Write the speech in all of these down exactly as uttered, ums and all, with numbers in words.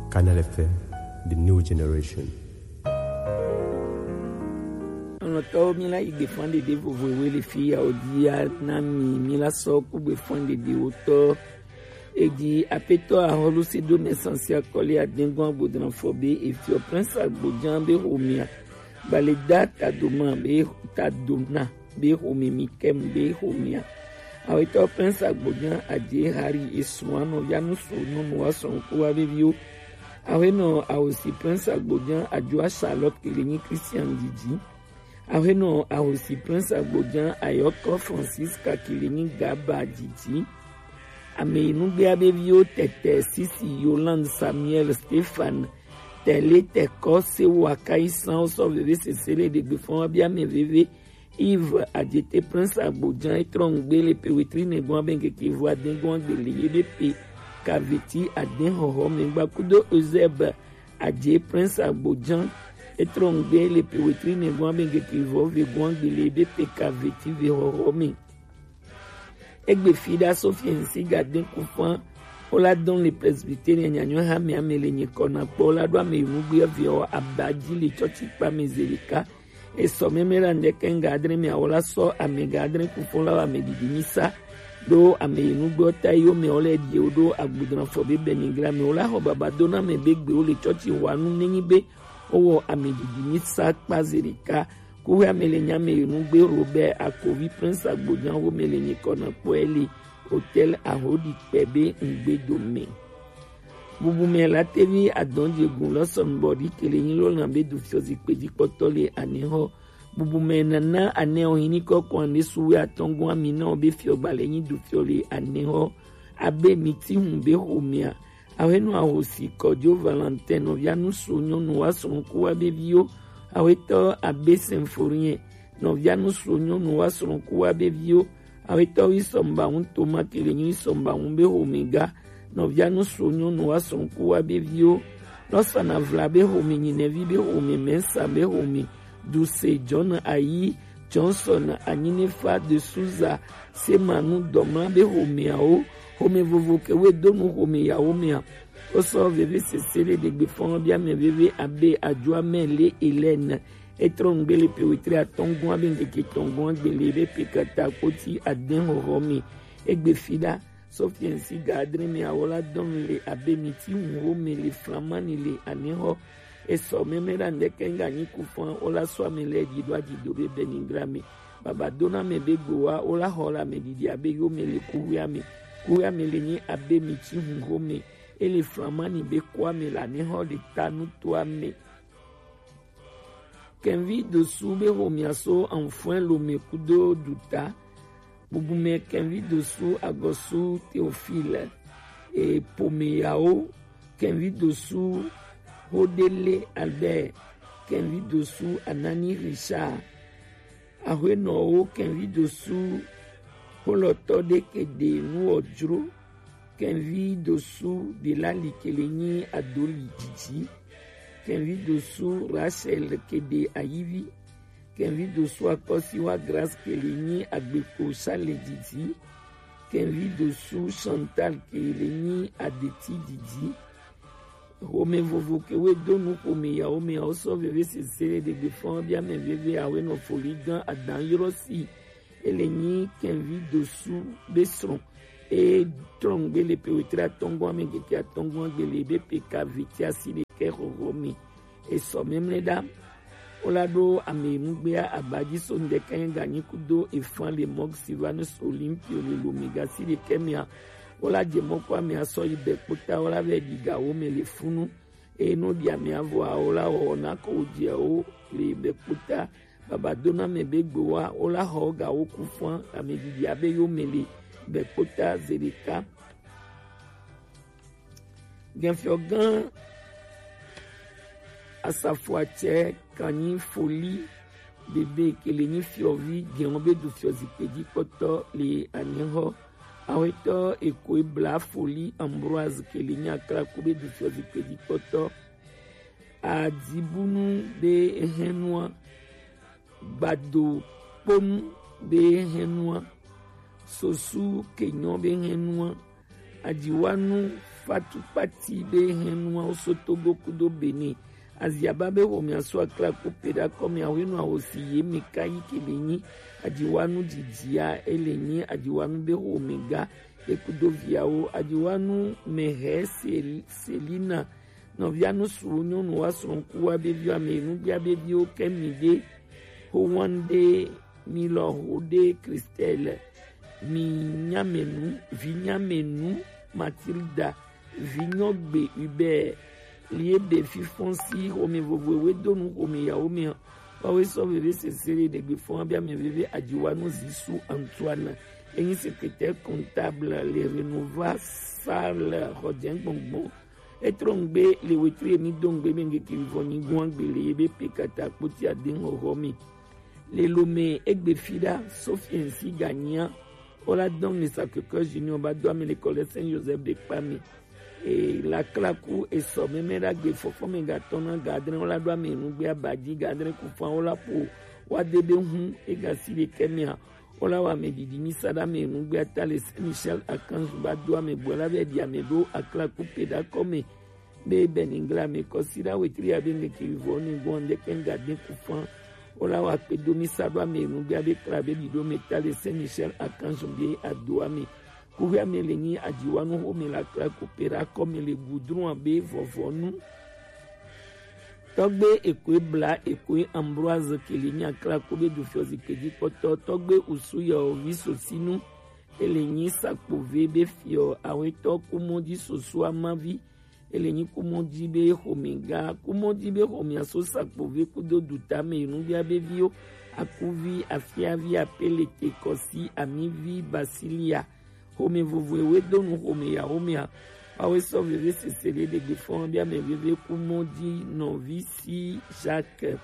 Canal F M, the new generation. Lɔlɔ̃tɔwo, míla yi gbefan ɖeɖe vovovowo le fi ya wòdi ya na mi. Míla sɔ ku gbefan ɖeɖewo tɔ. Edi apetɔ ahɔlu si do naissance akɔli adengɔn agbodran fɔ be efiɔ Prince Agbodjan be homia. Baleda tadoma be tadona be home mi kɛmu be homia. Awetɔ Prince Agbodjan adze hari esu anɔ ya nu su nyɔnu wa sɔn ku wa be viwo. Awenɔ awosi Prince Agbodjan adjoa Charlotte kele nyi Christian didi. Awenɔ awosi Prince Agbodjan ayɔkɔ Francisca kele nyi Gaba didi. Ame yi nugbea be viwo tɛtɛ sisi Yolande Samuel Stéphane tɛle tɛkɔ se wa kai san sɔ veve sese le ɖegbe fɔn wa bi ame veve. Yves Adjete Prince Agbodjan etrɔ ŋgbe le pe wetri nɛgbɔn abe ŋkeke vo adengɔn agbele ye be pe kaveti aden hɔhɔ mɛ gba kudo Eusèbe Adje Prince Agbodjan etrɔ ŋgbe le pe wetri nɛgbɔn abe ŋkeke vo ve gbɔn agbele ye be pe kaveti ve hɔhɔ mɛ. Egbe fi ɖa Sophie ŋsi ga den ku fan wo la dɔn le presbytere nyanyɔ ha mɛ ame le nyikɔ na kpɔ wo la ɖo ame yi nugbe viɔ aba ji le tsɔtsi kpa mɛ zelika. Esɔ mɛmɛ la ŋdɛ kɛn ga adre mɛ awo la sɔ ame ga adre ku fɔn la wa ame didi mi sa ɖo ame yi nugbe ta yi wo mɛ wo lɛ die wo ɖo agbudran fɔ be bɛnigra mɛ wo la xɔ baba do na mɛ be gbe wo le tsɔtsi wa nu nenyi be wo wɔ ame didi mi sa kpa zelika. Kuhe ame le nya me yi nugbe Robert Akovi Prince Agbodjan wo me le nyikɔ na kpɔɛ le hotel ahodi kpɛ be ŋgbe do me. Bubu mɛ la tevi adɔn je gun lɔ sɔn bɔ ɖi kele nyi lɔ na be du fiɔ zikpe ji kpɔtɔ le anɛ hɔ. Bubu mɛ nana anɛ o hini kɔ kɔn ne suwe atɔn gun ami na o be fiɔ gbalɛ nyi du fiɔ le anɛ hɔ. Abe mi ti hun be homia. Awenɔ ahosi Kɔjo Valentin nɔvia nusu nyɔnu wa srɔ̃ ku wa be viwo. Awetɔ Abe Symphorien nɔvia nusu nyɔnu wa srɔ̃ ku wa be viwo. Awetɔ Wisɔmba ŋu Toma kele nyi Wisɔmba ŋu be homega nɔvia nusu nyɔnu wa srɔ̃ ku wa be viwo. Lɔsana vla be home nyinɛvi be home mɛsa be home Duse John Ayi Johnson Anyinefa de Souza Semanu dɔmla be homeawo home vovo ke we do nu home yawo mea. Wo sɔ veve sese le ɖegbe fɔn bia mɛ veve abe adjoa mɛ le Hélène etrɔ ŋgbe le pe wetre atɔngɔn abe ŋkeke tɔngɔn gbele be pe kata kpoti aden hɔhɔ mi. Egbe fi ɖa Sophie ŋsi ga adre mɛ awo la dɔn le abe mi ti ŋu wo me le flamani le anɛ hɔ. Esɔ mɛmɛ la ŋdɛ kɛn ga nyi ku fɔn wo la sɔ ame lɛ di do adi do be bɛnigra me. Baba do na mɛ be gbo wa wo la xɔ la mɛ didi abe yo me le kuhwe ame. Kuhwe ame le nyi abe mi ti ŋu wo me. Ele flamani be ko ame la ne xɔ le ta nu to ame. Kɛnvi dosu be homia so anfɔɛ lome kudo duta. Bubu mɛ kɛnvi dosu agɔsu Théophile. E pomeyawo kɛnvi dosu Hodele Albert, kɛnvi dosu Anani Richard. Ahwenɔwo kɛnvi dosu holɔtɔ ɖe ke ɖe nuwɔdzro. Kɛnvi dosu Delali ke le nyi Adoli didi. Kɛnvi dosu Rachel ke ɖe ayivi. Kɛnvi dosu Akɔsiwa Grace ke le nyi Agbekpo Sale didi. Kɛnvi dosu Chantal ke le nyi Adeti didi. Home vovo ke we do nu home yawo me awo sɔ veve sese ɖegbe fɔn bia mɛ veve awe nɔ foli gan adan yɔrɔ si. Ele nyi kɛnvi dosu be srɔ̃. E trɔn gbe le pe wetre atɔngɔn ame geke atɔngɔn gbe le be pe ka veti asi ɖekɛ hɔhɔ me. Esɔ mɛmlɛ ɖa. Wo la ɖo ame nugbea abaji so ŋdɛkɛ ganyi kudo efan le mɔg Silvanus Olympio le lome gasi ɖekɛ mea. Wo la je mɔ kɔ ame asɔ yi bɛ kpota wo la vɛ ɖi ga wo me le funu. Eye no ɖi ame avɔ awo la wɔ na ko wo je wo le bɛ kpota. Baba do na mɛ be gbo wa wo la xɔ ga wo ku fɔn ame ɖiɖi abe yo me le bɛ kpota ze ɖeka. Gɛnfiɔgã Asafoatsɛ Kanyi Foli Bebe ke le nyi fiɔvi gɛn wo be du fiɔ zikpe ji kpɔtɔ le anɛ xɔ. Awetɔ Ekoe Bla Foli Ambroise ke le nyi Aklaku be du fiɔ zikpe ji kpɔtɔ. Adibunu be ehɛnua. Gbado kponu be hɛnua, sosu kenyɔ be hɛnua, ajiwanu Fatu Kpati be hɛnnuawo so Togo kudo Benin. Aziaba be xomea so Aklaku pe ɖa kɔmea hwenu ahosi ye me ka yi ke be nyi ajiwanu jijia, ele nyi ajiwanu be xomega, ye kudo viawo, ajiwanu mehɛ Sel-, Selina, nɔvia nusu nyɔnu wa srɔ̃ku wa be viwo ame nugbia be viwo ke mi ɖe, Howande, Milɔ Hode, Christelle, mi nyamenu, vi nyamenu, Matilda, vi nyɔgbe Hubert, lie be fifɔn si xome vovoe we donu xome yawo me. Wawe sɔ veve sese ɖe ɖegbe fɔn abia me veve ajiwanu Zisu Antoine. Enyi secrétaire comptable le Renova Salle Xɔjɛ gbɔngbɔn. Etrɔ ŋgbe le wetri emi do ŋgbe be ŋgeke vivɔ nyigun agbe le ye be pe kata kpoti ade ŋɔxɔ me. Le Lomé egbe fi ɖa, Sophie ainsi gagna, o la dɔn le Sacré-Cœur Junior ba do ame le kɔ le Saint Joseph de kpa me. E la klaku e sɔ mɛmɛ ɖa gbe fɔfɔ me ga tɔn na ga adre o la do ame nu gbe aba ji ga adre ku fan o la po wa de be hun e ga si le kɛ mea. Wo la wɔ ame ɖiɖi mi sa ɖe ame nugbe ata le Saint Michel Archange ba do ame gbɔ la be ɖi ame ɖo aklaku pe ɖa kɔ me. Be Beningla me kɔsi ɖa wetri ya be ŋkeke vɔ ne gbɔn ɖe kpe ŋga de ku fan. Wo la wɔ akpe do mi sa ɖo ame nugbe abe kla be ɖi ɖo me ta le Saint Michel Archange be ado ame. Kuxi ame le nyi adziwanu xome la klaku pe ɖa kɔ me le gudron abe vɔvɔnu. Tɔgbe Ekoe Bla, Ekoe Ambroise ke le nyi aklaku be du fiɔ zikpe ji kpɔtɔ, tɔgbe Usu yɔ vi sosinu, ele nyi sakpove be fiɔ awetɔ kumɔji soso amavi, ele nyi kumɔji be xomega, kumɔji be xomea so sakpove kudo dutame nubia be viwo, akuvi, afiavi, apelete, kɔsi, amivi, basilia, xome vovo ewe do nu xome ya xomea. Wawe sɔ veve sese ɖe ɖegbe fɔn bia mɛ veve ku mɔ ji nɔvi si Jacques.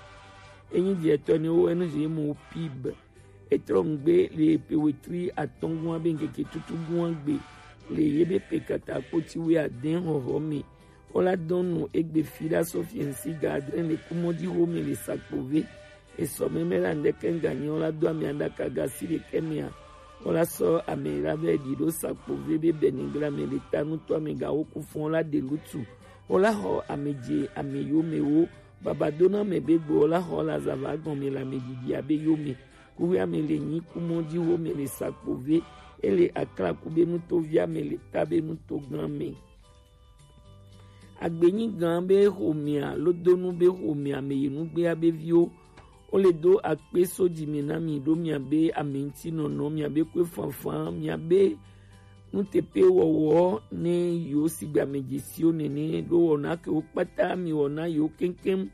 Enyi diɛtɔ ne wo enu je mo pib. Etrɔ ŋgbe le pe wetri atɔngua be ŋkeke tutu gua gbe le ye be pe kata kpoti we adɛn xɔxɔ me. Wo la dɔn nu egbe fi ɖa sɔ fiɛnsi ga adre le kumɔ ji xome le sakpove. Esɔ mɛmɛ la ŋdɛkɛ ŋganyi wo la do ame aɖaka ga si ɖekɛ mea. Wo la sɔ ame la vɛ ɖi ɖo sakpove be Beningla me le ta nutɔ ame ga wo ku fɔn la de lutu. Wo la xɔ ame je ame yo me wo baba do na ame be gbe wo la xɔ la zava gɔme le ame didi abe yo me. Kuxi ame le nyi kumɔ ji wo me le sakpove. Ele aklaku be nuto vi ame le ta be nuto gan me. Agbenyi gan be xomea, lodonu be xomea me yi nugbea be viwo. Wo le do akpe so ji me na mi ɖo mia be ame ŋuti nɔnɔ, mia be kue fanfan, mia be nutepe wɔwɔ ne yo sigba me ji siwo nene ɖo wɔna ke wo kpata mi wɔna yo keŋkeŋ.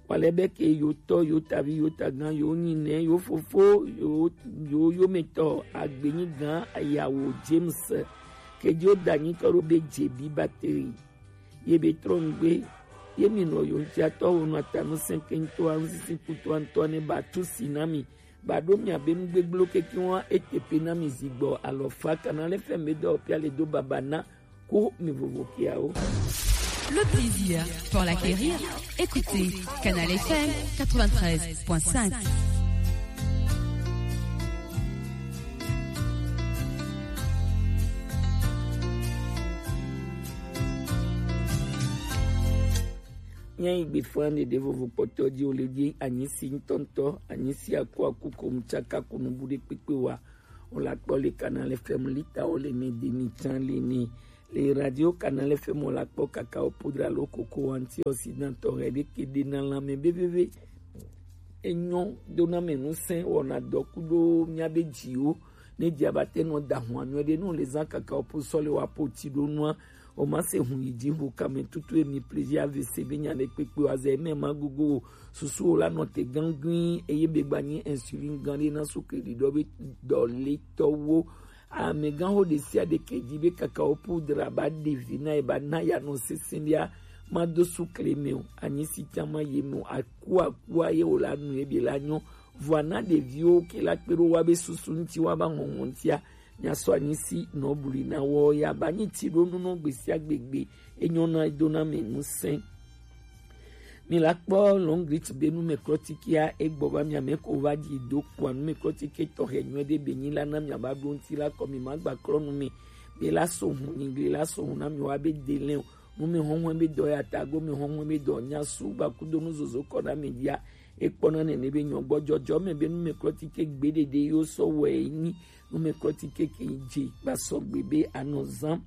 Walɛ be ke yo tɔ, yo tavi, yo tagan, yo nyinɛ, yo fofo, yo, yo yometɔ, agbenyi gan ayawo James. Ke jo danyi kɔ ɖo be jebi bateri. Ye be trɔ ŋgbe, ye mi nɔ yo ŋuti atɔ wo nɔ atanu sɛnkɛntɔ, anusisi kutu antɔ ne ba tu si na mi. Ba ɖo mia be nugbegblẽwo kekeŋ wa eteƒe na mi zi gbɔ alɔfa kana le fɛn be dɔ pia le do baba na ko mi vovo kiawo. Le plaisir pour l'acquérir, écoutez Canal F M quatre-vingt-treize point cinq. Míayi gbefa ɖeɖe vovo kpɔtɔ ji wo le dzi anyisi ŋutɔŋutɔ, anyisi aku aku kom tsaka ku nubu ɖe kpekpe wa. Wo la kpɔ le Canal F M lita wo le me de mi tsã le ne. Le radio Canal F M wo la kpɔ kaka wo podra lo koko wanti ɔsi na tɔ hɛ ɖe ke ɖe na lãme be veve. Enyɔ do na me nusẽ wɔna dɔ ku ɖo mía be dziwo. Ne dzi aba te nɔ da hɔn anyɔ ɖe nu le zã kaka wo po sɔ le wa po ti ɖo nua. O ma se hun yi dzi hu kame tutu emi plaisir A V C be nya ɖe kpekpe wa ze eme ma gogo wo. Susu wo la nɔ te gangui eye be gba nyi insulin gan ɖe na sukle ɖiɖɔ be dɔ le tɔwo. Amegãxo ɖe sia ɖe ke dzi be kakao poudre aba ɖe vi na ye ba na ya nɔ sesẽ ɖia, ma do sukle me o, anyi si tsã ma ye me o, aku akua ye wo la nu ye be la nyɔ. Vɔa na ɖeviwo ke la kpe ɖo wa be susu ŋuti wa ba ŋɔŋɔ ŋutia, nya sɔ anyi si nɔ blu na wɔ ya ba nyi ti ɖo nu nɔ gbe sia gbe gbe, enyɔ na do na me nusẽ. Mi la kpɔ Longreach be numɛklɔtikia egbɔ va mia mɛ ko va dzi do kua numɛklɔtike tɔxɛ nyuie ɖe be nyi la na mia va ɖo ŋuti la kɔ mi ma gba klɔ nu mi. Gbe la so hun ni, gbe la so hun na mi wa be de lɛn o. Nu mi hɔnhɔn be dɔ ya ta go mi hɔnhɔn be dɔ nya su ba kudo nu zozo kɔ na mi dia. E kpɔ na nɛnɛ be nyɔ gbɔ jɔjɔ mɛ be nu mi klɔ ti ke gbe dede yo sɔ wɛ yi ni. Nu mi klɔ ti ke ke je gba sɔ gbe be anɔ zan.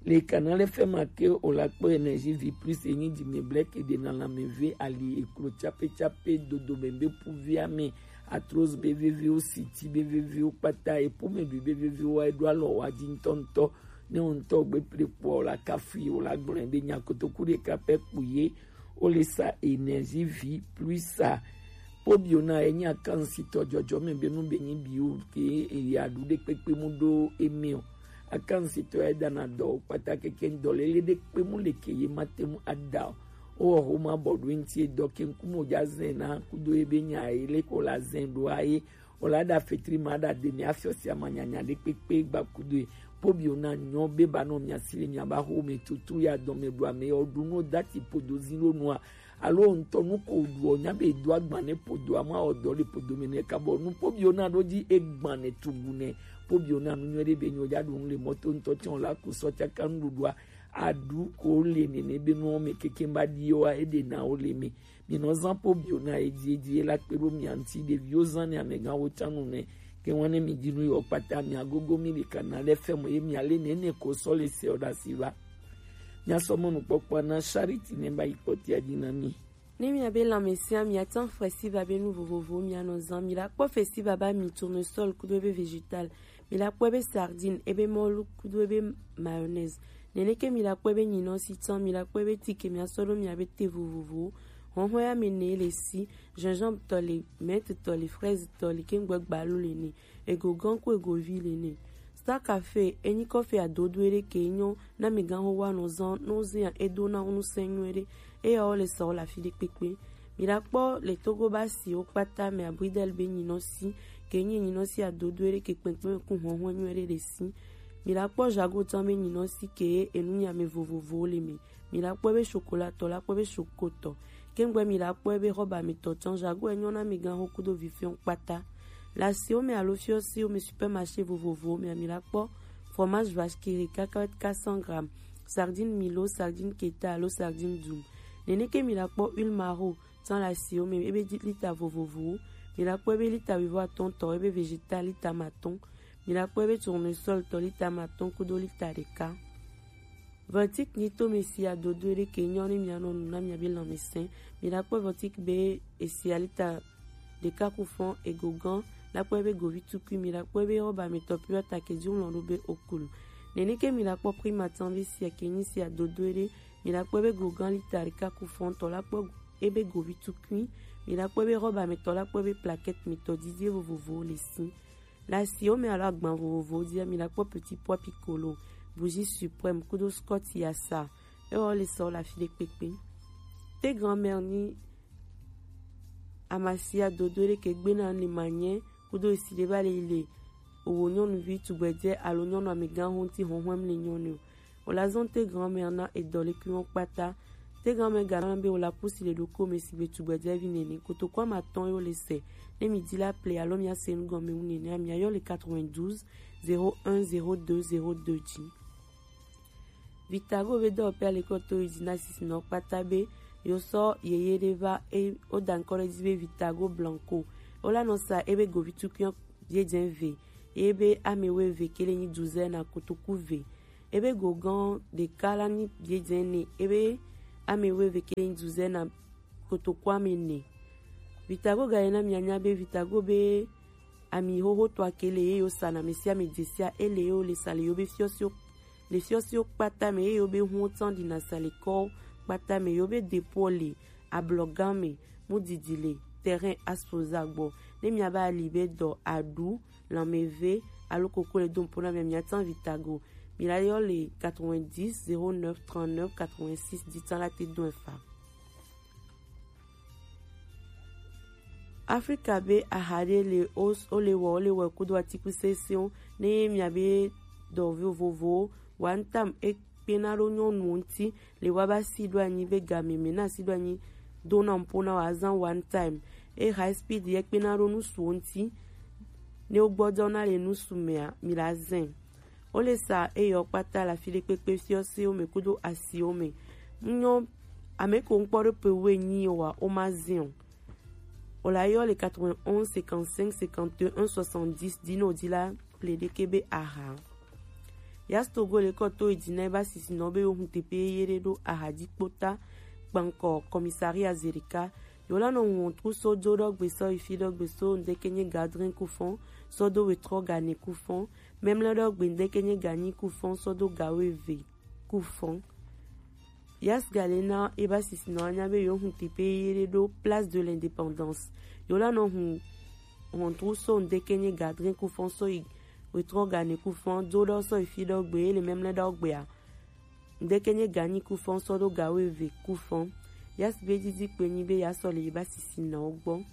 Le canal F M ake o la kpɔ Énergie Vie Plus e nyi di mi blɛ ke de na la mi ve ali e klo tsape tsape dodo mɛ be pu via mɛ. Arthrose be veviwo, siti be veviwo kpata, epo me ɖui be veviwo, eɖo alɔ wa dzi ŋutɔŋutɔ. Ne wo ŋutɔ gbe ple kpɔ, o la kafui, o la gblɔe be nya kotoku ɖeka pɛ kpu ye, o le sa Énergie Vie Plus sa. Pobio na enyi akansitɔ jɔjɔ me be nu be nyi bi o ke eya ɖu ɖe kpekpe mu ɖo eme o. Akansitɔ ya dana dɔ o kpata keke dɔ lele ɖe kpe mu le ke ye ma te mu ada o. O wɔ homa bɔ ɖo ŋuti edɔ ke ŋkume o ja zɛn na kudo ebe nya ye le ko la zɛn ɖo aye. O la ɖa fetri ma ɖa de mi afiɔ sia ma nyanya ɖe kpekpe gba kudo e. Pobio na nyɔ be ba nɔ mia si le mia ba ho me tutu ya dɔn me ɖu ame yɔ ɖu no dati podo zi ɖo nua. Alo ŋutɔ nu ko ɖu o nya be do agban ne podo ama o dɔ le podo me ne ka bɔ nu pobio na ɖo dzi egban ne tugu ne. Pobio na nu nyɔ ɖe be nyɔ ja ɖu nu le mɔto ŋutɔ tiɔn la ku sɔ tsaka nuɖuɖua. Aɖu ko le nene be nuwo me keke ba ɖi wa eɖe na wo le me. Mi nɔ zan pobio na edzi edzi la kpe ɖo mia ŋuti ɖeviwo zan ne amegãwo tsã nu ne. Ke ŋua ne mi dzi nu yɔ kpata mia gogo mi le kana le fɛmɔ ye mia le nene ko sɔ le se o ɖa si va. Mia sɔ mɔnukpɔkpɔ na Charity ne ba yi kpɔtia dzi na mi. Ne miabe lãmesẽa miate ŋu xɔe si va be nu vovovowo mianɔ zã. Mi la kpɔ festival be ami tournesol kudo ebe vegetal. Mi la kpɔ ebe sardine, ebe mɔlu kudo ebe mayonnaise. Neneke mi la kpɔ ebe nyinɔsi tsã, mi la kpɔ ebe tike miasɔ ɖo miabe te vovovowo. Hɔhɔn ya mi ne le si, gingembre tɔ le, menthe tɔ le, fraise tɔ le, kengbe gbalo le ne. Ego gã ku ego vi le nɛ. Star Cafe enyi kɔfe adodo ɖe ke nyɔ na mi gã ho wa nɔ zan no zia edo na nu sɛ nyuie ɖe. Eya wo le sa wo le afi ɖe kpekpe. Mi la kpɔ le Togo ba si wo kpata mɛ abridel be nyinɔsi ke nyi nyinɔsi adodo ɖe ke kpɛnkpɛn ku hɔhɔn nyuie ɖe le si. Mi la kpɔ jago tã be nyinɔsi ke enu nya me vovovowo le me. Mi la kpɔ be chocolat tɔ, la kpɔ be choco tɔ. Kengbe mi la kpɔ be robe ametɔ tsã jago enyɔ na mi gã ho kudo vi fiɔ kpata. Le asiwo me alo fiɔsiwo me supermarché vovovowo me mi la kpɔ fromage vache qui rit quatre cent grammes, sardine milo, sardine keta alo sardine dum. Neneke mi la kpɔ huile maro tsã le asiwo me ebe lita vovovowo. Mi la kpɔ be lita wuivo atɔn tɔ ebe vegetal lita matɔn. Mi la kpɔ be tournesol tɔ lita matɔn kudo lita ɖeka. Ventique nyito me si adodo ɖe ke nyɔ ne mianɔ nu na miabe lãmesẽ. Mi la kpɔ ventique be esi alita ɖeka ku fɔn ego gã la kpɔ be govi tukui mi la kpɔ be robe ametɔ pure ta ke dzi ŋlɔ ɖo be okul. Neneke mi la kpɔ prima tã be sia ke nyi si adodo ɖe mi la kpɔ be go gã lita ɖeka ku fɔn tɔ la kpɔ ebe govi tukui mi la kpɔ be robe ametɔ la kpɔ be plaquette mitɔ didi vovovowo le si. Le asiwo me alo agban vovovowo dzia, mi la kpɔ petit pois piccolo, bougie suprême kudo scotch yasa. Ewɔ le sɔ le afi ɖe kpekpe. Te grand-mère ni amasia dodo ɖe ke gbe na ni manyɛ kudo esi ɖe va le le owo nyɔnuvi tugbedze alo nyɔnu amegã ho ŋuti hɔhɔm le nyɔnu o. O la zɔn te grand-mère na edɔ le kui wɔn kpata. Te grand-mère ga na be o la pusi le ɖoko me sigbe tugbedze vi nene. Kotoko ama tɔn yo le se. Ne mi di la ple alo mi ase nu gɔme wu nene, mi ayɔ le quatre-vingt-douze zéro un zéro deux zéro deux dzi. Vitago be dɔ pe ale kɔ to yi dzi na sisi nɔ kpata be yo sɔ yeye ɖe va e o da ŋkɔ ɖe dzi be Vitago Blanco. O la nɔ sa ebe govi tukui ye dze ve. Ebe ame wo eve ke le nyi douzaine na kotoku ve. Ebe go gã ɖeka la nyi biedzɛ ne ebe ame wo eve ke nyi duze na kotoku ame ne. Vitago ga yi na mianya be Vitago be ami xoxo tɔ ake le ye yo sa na mesi ame dzesia ele yo le sa le yo be fiɔsio le fiɔsio kpata me ye yo be hun tsan di na sa le kɔ kpata me yo be depo le ablɔgã me mu didi le terrain aspoza gbɔ ne miaba ali be dɔ aɖu lanmeve alo koko le do nupo na mia, miatsan Vitago. Mi la yɔ le quatre-vingt-dix zéro neuf trente-neuf quatre-vingt-six dzi tsan la te do efa. Afrika be aha ɖe le o, o le wɔ, o le wɔ kudo atiku sese o, ne mia be dɔ vovovowo wa ntam e kpena ɖo nyɔnuwo ŋuti le woaba si ɖo anyi be game me na si ɖo anyi dona nupo na woazan one time. E high speed ye kpena ɖo nusuwo ŋuti ne wogbɔdɔ na le nusu mea, mi la zɛn. Wo le sa eyɔ kpata le afi ɖekpekpe fiɔsewo me kudo asiwo me. Ŋnyɔ ame ko ŋkpɔ ɖe pe wo enyi o wa, wo ma zin o. Wo la yɔ le quatre-vingt-onze cinquante-cinq cinquante et un soixante-dix dzi ne wòdi la ple ɖeke be aha. Yas Togo le kɔ to yi dzi na eba sisinɔ be yewo hun teƒe yeye ɖe ɖo aha dzi kpota kpankɔ commissariat Zerika. Yewo la nɔ wɔntru so do ɖɔgbe sɔ yi fi ɖɔgbe so ŋdeke nye gadrin kufɔn sɔ do wetrɔ gane kufɔn. Memle ɖɔgbe ŋdeke nye ganyi kufɔn sɔ do gawo eve kufɔn. Yas gale na eba sisinɔ anya be yewo hun teƒe yeye ɖe ɖo Place de l'Indépendance. Yewo la nɔ hun wɔntru so ŋdeke nye gadrin kufɔn sɔ yi wetrɔ gane kufɔn do ɖɔ sɔ yi fi ɖɔgbe ye le memle ɖɔgbea. Ŋdeke nye ganyi kufɔn sɔ do gawo eve kufɔn. Yas be didi kpe nyi be yasɔ le eba sisinɔwo gbɔ.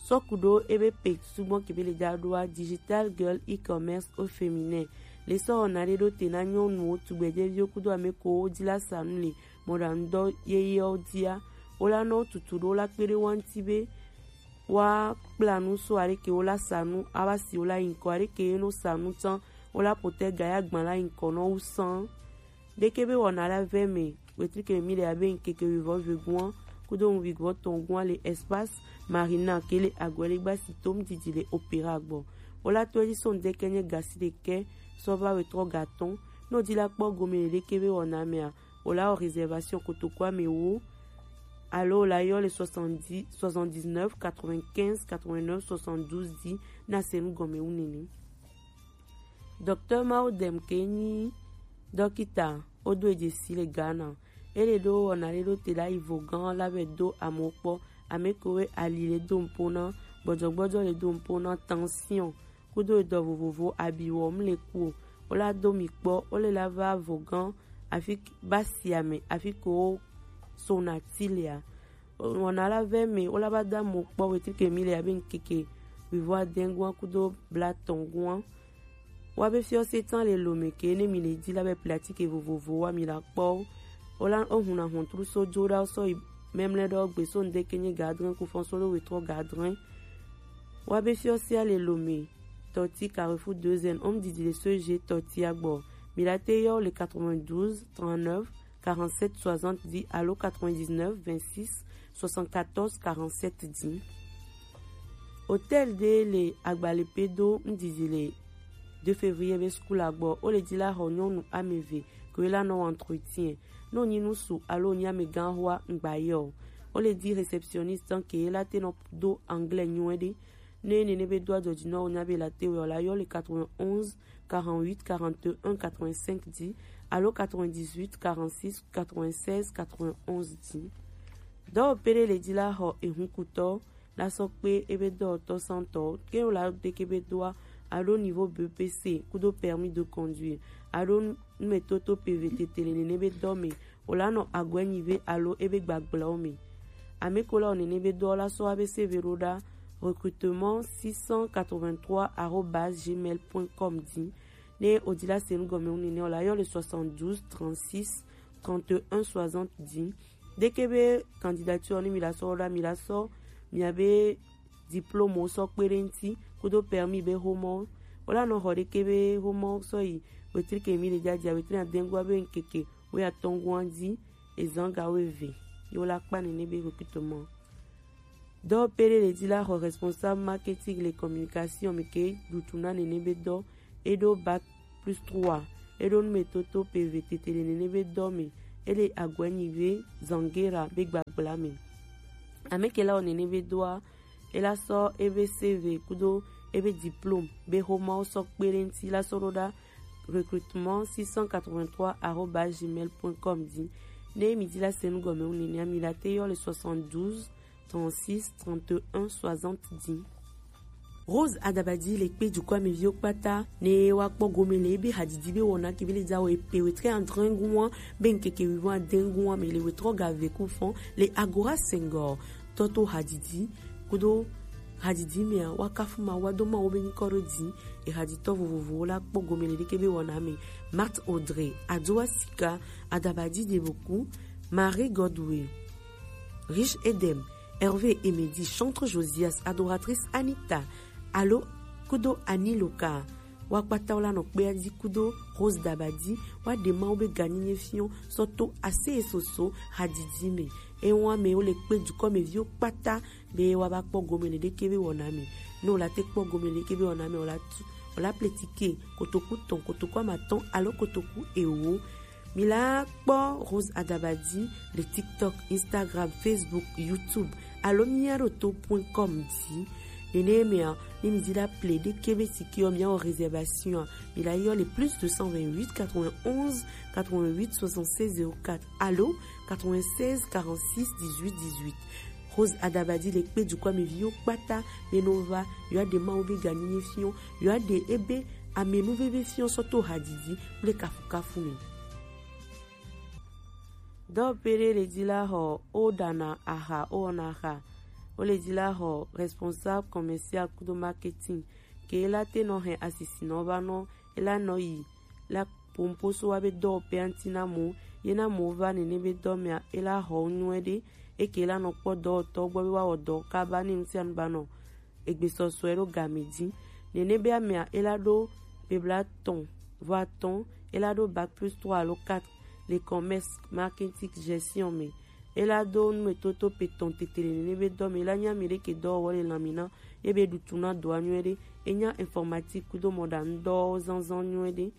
Sɔ ku ɖo ebe pe sugbɔ kebe le da ɖoa Digital Girl E-commerce au féminin. Le sɔ wɔna ɖe ɖo te na nyɔnuwo, tugbejeviwo kudo ame ko wo di la sa nu le mɔɖaŋudɔ yeyewo dia. Wo la nɔ tutu ɖo la kpe ɖe wa ŋuti be wa kpla nu so aɖeke wo la sa nu ava si wo la yi ŋkɔ aɖeke ye no sa nu tsã wo la potɛ ga ya gbã la yi ŋkɔ nɔ wu sã. Ɖeke be wɔna la vɛ me, wetrike mi le abe ŋkeke wivɔ vegua kudo ŋu wivɔ tɔngua le Espace Marina ke le agwele gba si tom didi le Opéra gbɔ. Wo la to edzi so ŋdeke nye gasi ɖeke sɔ va wetrɔ gatɔn. Ne wodi la kpɔ gome le ɖeke be wɔna mea, wo la wɔ réservation kotokua me wo alo wo la yɔ le soixante-dix, soixante-dix-neuf quatre-vingt-quinze quatre-vingt-neuf soixante-douze dzi na se nu gɔme wu nene. Docteur Maudem ke nyi dɔkita wodo edzesi le Ghana. Ele ɖo wɔna ɖe ɖo te la yi vo gã la vɛ do amewo kpɔ. Ame kowe ali le do ŋpo na, gbɔdzɔgbɔdzɔ le do ŋpo na, tension kudo edɔ vovovo, abi wɔm le ku o. Wo la do mi kpɔ, wo le la va vo gã afi basi ame afi ko wo sona ti lea. Wɔna la vɛ me wo la va da mo kpɔ wetrike mi le abe ŋkeke wivɔ adengua kudo blatɔngua. Wa be fiɔ se tsan le lo me ke ne mi le di la be pratike vovovo wa mi la kpɔ. Wo la wo huna hontru so jo da sɔ yi memle ɖɔ gbe so ŋdeke nye gadrin kufɔn so lo wetrɔ gadrin. Wa be fiɔ se le lo me tɔti Carrefour deux N, om didi le so je tɔti agbɔ. Mi la te yɔ le quatre-vingt-douze trente-neuf quarante-sept soixante dix alo quatre-vingt-dix-neuf vingt-six soixante-quatorze quarante-sept dix. Hôtel de le agbale pedo ŋdidi le deux février be school agbɔ, o le di la xɔ nyɔnu ame eve ko la nɔ entretien. No nyi nusu alo nyi ame gã hoa ŋgba yɔ. O le di réceptionniste ke la te nɔ do anglais nyuie ɖe. Ne nene be do adzɔdzi nɔ o nya be la te wɔ la yɔ le quatre-vingt-onze quarante-huit quarante-et-un quatre-vingt-cinq dix alo quatre-vingt-dix-huit quarante-six quatre-vingt-seize quatre-vingt-onze dix. Dɔwɔƒe ɖe le dzi la xɔ ehunkutɔ la sɔ kpe ebe dɔwɔtɔ santɔ ke la de ke be doa alo niveau B P C kudo permis de conduire alo numetoto P V tete le nene be dɔ me o la nɔ agɔe nyi ve alo ebe gbagblɛwo me. Ame ko la o nene be dɔ la sɔ abe C V ɖo ɖa recrutement six cent quatre-vingt-trois arobase gmail point com dzi. Ne o di la se nu gɔme wu nene o la yɔ le soixante-douze trente-six trente-et-un soixante dix. Deke be candidature ni mi la sɔ ɖa mi la sɔ mi abe diplôme sɔ kpe ɖe ŋuti kudo permis be xomɔ. O la nɔ xɔ ɖeke be xomɔ sɔ yi wetri ke mi le dzadza wetri adengua be ŋkeke wo ya tɔngua dzi ezan ga wo eve. Yo la kpa nene be recrutement. Dɔ pe ɖe le dzi la xɔ responsable marketing le communication mi ke ɖutu na nene be dɔ e ɖo bac plus trois e ɖo numetoto P V tete le nene be dɔ me e le agɔe nyi ve zangera be gbagbla me. Ame ke la wɔ nene be dɔa e la sɔ ebe C V kudo ebe diplôme be xomɔwo sɔ kpe ɖe ŋuti la sɔ ɖo ɖa recrutement six cent quatre-vingt-trois arobase gmail point com dzi. Ne mi di la se nu gɔme wu nene mi la te yɔ le soixante-douze trente-six trente-et-un soixante dix. Rose Adabadi le kpe dukɔa me viwo kpata ne wa kpɔ gome le ebe hadidi be wɔna ke be le dza wɔ epe wetre adrengua be ŋkeke wivɔ adengua me le wetrɔ ga ve ku fɔn le Agora Senghor tɔto hadidi kudo hadidi mea wa kafu ma wa do ma wo be nyikɔ ɖo di e haditɔ vovovowo la kpɔ gome le ɖeke be wɔna me. Marthe Audrey, Adoa Sika, Adabadi Deboku, Marie Godwin, Riche Edem, Hervé Emedi, chantre Josias, adoratrice Anita, alo kudo Aniloka, Wa kpata wo la nɔ kpe adi kudo Rose Dabadi, wa ɖe Mawu be ganyinyɛ fiɔ sɔ to ase e soso hadidi me. E wa mɛ wo le kpe dukɔ mɛ viwo kpata be wa ba kpɔ gome le ɖeke be wɔna me. Ne wo la te kpɔ gome le ɖeke be wɔna me, wo la tu, wo la ple tike kotoku tɔn, kotoku amatɔn alo kotoku ewo. Mi la kpɔ Rose Adabadi le TikTok, Instagram, Facebook, YouTube alo mia ɖo to point com di. Nene mea, ne mi di la ple ɖeke be tike ɔ, mia wɔ réservation a, mi la yɔ le plus deux cent vingt-huit quatre-vingt-onze quatre-vingt-huit soixante-seize zéro quatre alo quatre-vingt-seize quarante-six dix-huit dix-huit. Rose Adabadi le kpe dukɔ mɛ viwo kpata be no va, yɔ ɖe Mawu be ganyinyɛ fiɔ, yɔ ɖe ebe amenuveve fiɔ sɔ to hadidi kple kafukafu me. Dɔwɔƒe ɖe le dzi la xɔ wo ɖana aha, wo wɔna aha. Wo le dzi la xɔ responsable commercial kudo marketing ke la te nɔ hɛn asisinɔ va nɔ e la nɔ yi la pomposo wa be dɔwɔƒea ŋuti na mo, ye na mo va nene be dɔ mea e la xɔ nyuie ɖe, eke la nɔ kpɔ dɔwɔtɔ gbɔ be wa wɔ dɔ kaba ne nu sia nu ba nɔ egbesɔsɔe ɖo game dzi. Nene be amea e la ɖo bebla tɔn vɔ atɔn, e la ɖo bac plus trois alo quatre le commerce marketing gestion me. E la do numetoto pe tɔn tete le nene be dɔ me. E la nya mi ɖeke dɔwɔwɔ le lanmina, ye be ɖutu na dɔa nyuie ɖe. E nya informatique kudo mɔɖaŋudɔwɔwɔ zanzan nyuie ɖe.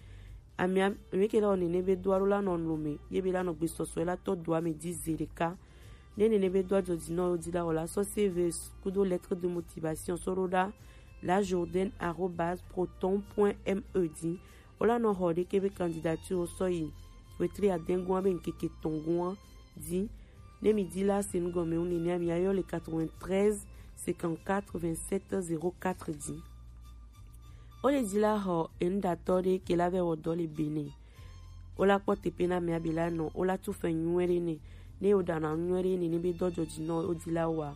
Amea mi ke la wɔ nene be dɔa ɖo la nɔ nu me, ye be la nɔ gbesɔsɔe la tɔ dɔa me dzi ze ɖeka. Ne nene be dɔa dzɔ dzi nɔ yo dzi la wɔ la sɔ C V kudo lettre de motivation sɔ ɖo ɖa la Jourdain arobase proton point M E dzi. Wo la nɔ xɔ ɖeke be candidature wo sɔ yi wetri adɛngua be ŋkeke tɔngua dzi. Ne mi di la se nu gɔme wu nenea, mi ayɔ le quatre-vingt-treize cinquante-quatre vingt-sept zéro quatre dzi. Wo le dzi la xɔ enuɖatɔ ɖe ke la vɛ wɔ dɔ le Benin. Wo la kpɔ teƒe na mia be la nɔ, wo la tu fɛ nyuie ɖe ne. Ne wo ɖana nyuie ɖe ne, ne be dɔ dzɔ dzi nɔ wo di la wa,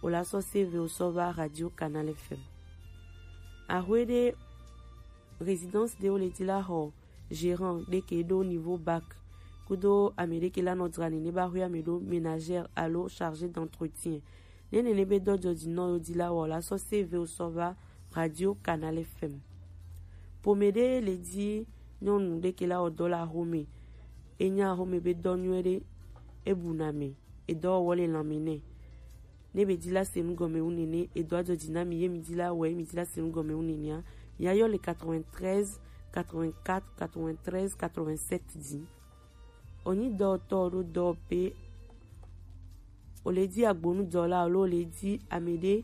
wo la sɔ C V wo sɔ va Radio Canal F M. Ahwe ɖe résidence ɖe wo le dzi la xɔ gérant ɖe ke ɖo niveau bac kudo ame ɖe ke la nɔ dzra nene ba xwe ame ɖo ménagère alo chargé d'entretien. Ne nene be dɔ dzɔ dzi nɔ yo di la wɔ la sɔ C V wo sɔ va Radio Canal F M. Pome ɖe le dzi nyɔnu ɖe ke la wɔ dɔ la xome. E nya xome be dɔ nyuie ɖe, e bu na me, e dɔwɔwɔ le lanme nɛ. Ne be di la se nu gɔme wu nene, e dɔ adzɔ dzi na mi ye mi di la wɔ ye mi di la se nu gɔme wu nenea, mi ayɔ le quatre-vingt-treize quatre-vingt-quatre quatre-vingt-treize quatre-vingt-sept dzi. Onyi dɔwɔtɔ ɖo dɔwɔƒe, o le di agbonudɔla alo o le di ame ɖe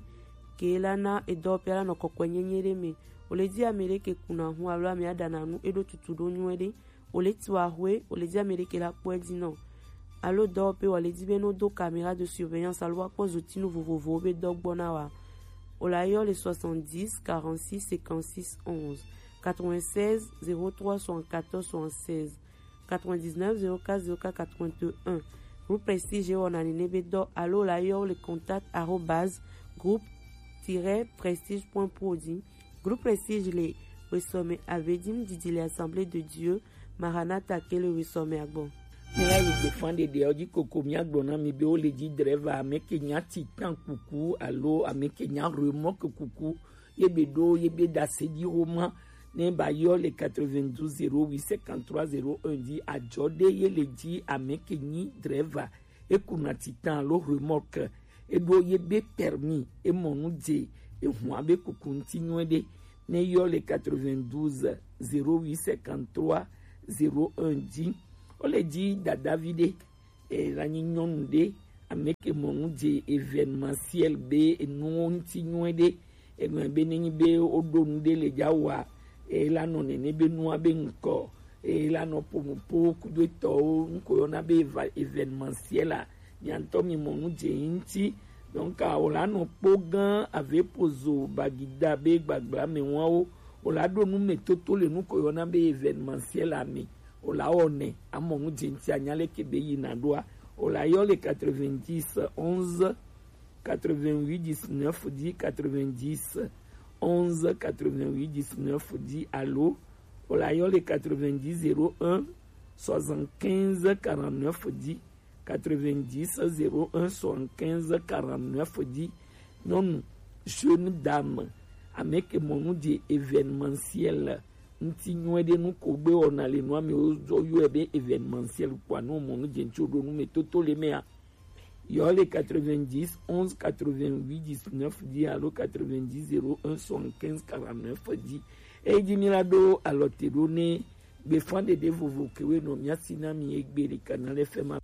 ke la na edɔwɔƒea la nɔ kɔkɔe nyenye ɖe me, o le di ame ɖe ke kuna hu alo ame aɖana nu eɖo tutu ɖo nyuie ɖe, o le tu ahwe, o le di ame ɖe ke la kpɔe dzi nɔ. Alo dɔwɔƒe wa le di be no do caméra de surveillance alo wa kpɔ zotinu vovovowo be dɔ gbɔ na wa. O la yɔ le soixante-dix quarante-six cinquante-six onze, quatre-vingt-seize zéro trois soixante-quatorze soixante-seize. Quatre-vingt-dix-neuf zéro quatre zéro quatre quatre-vingt-un. Groupe Prestige wɔna nene be dɔ alo la yɔ le contact arobase groupe tiret prestige point pro dzi. Groupe Prestige le wesɔme ave dim didi le Assemblée de Dieu Maranatha ke le wesɔme agbɔ. Míayi gbefã ɖeɖeawo dzi koko míagblɔ na mi be wo le dzi dreva ame ke nya titan kuku alo ame ke nya remɔke kuku ye be ɖo ye be ɖase dzi xoma ne ba yɔ le quatre-vingt-douze zéro huit cinquante-trois zéro un dzi adzɔ ɖe ye le dzi ame ke nyi dreva, e kuna titan alo remorque, e ɖo ye be permis, e mɔ nu dze, e hua be kuku ŋuti nyuie ɖe, ne yɔ le quatre-vingt-douze zéro huit cinquante-trois zéro un dzi. Wo le dzi dadavi ɖe e la nyi nyɔnu ɖe ame ke mɔ nu dze événementiel be enuwo ŋuti nyuie ɖe. Egblɔ be nenyi be woɖo nu ɖe le dza wa, e la nɔ nene be nua be ŋkɔ, e la nɔ ƒo nu po kudo etɔwo ŋkɔ yɔna be eva- événementiel a, mia ŋutɔ mi mɔ nu dze yi ŋuti. Donc a, wòla nɔ kpɔ gã ave pozo bagida be gbagblame wawo, wòla ɖo nu me toto le nu ko yɔna be événementiel a me. Wòla wɔnɛ amɔ nu dze ŋuti anya leke be yina ɖoa. Wòla yɔ le quatre-vingt-dix onze quatre-vingt-huit dix-neuf dix, quatre-vingt-dix onze quatre-vingt-huit dix-neuf dix alo wòla yɔ le quatre-vingt-dix zéro un soixante-quinze quarante-neuf dix, quatre-vingt-dix zéro un soixante-quinze quarante-neuf dix. Nyɔnu, jeune dame, ame ke mɔ nu dze événementiel ŋuti nyuie ɖe nu ko gbe wɔna le nua me wozɔ yɔe be événementiel kpoa, ne womɔ nu dze ŋuti ɖo nu me toto le mea, yɔ le quatre-vingt-dix, onze, quatre-vingt-huit, dix-neuf dzi alo quatre-vingt-dix, zéro un, soixante-quinze, quarante-neuf dzi. Eyi dzi mi la ɖo alɔ te ɖo ne gbefa ɖeɖe vovo kewe nɔ mia si na mi egbe le Canal F M a.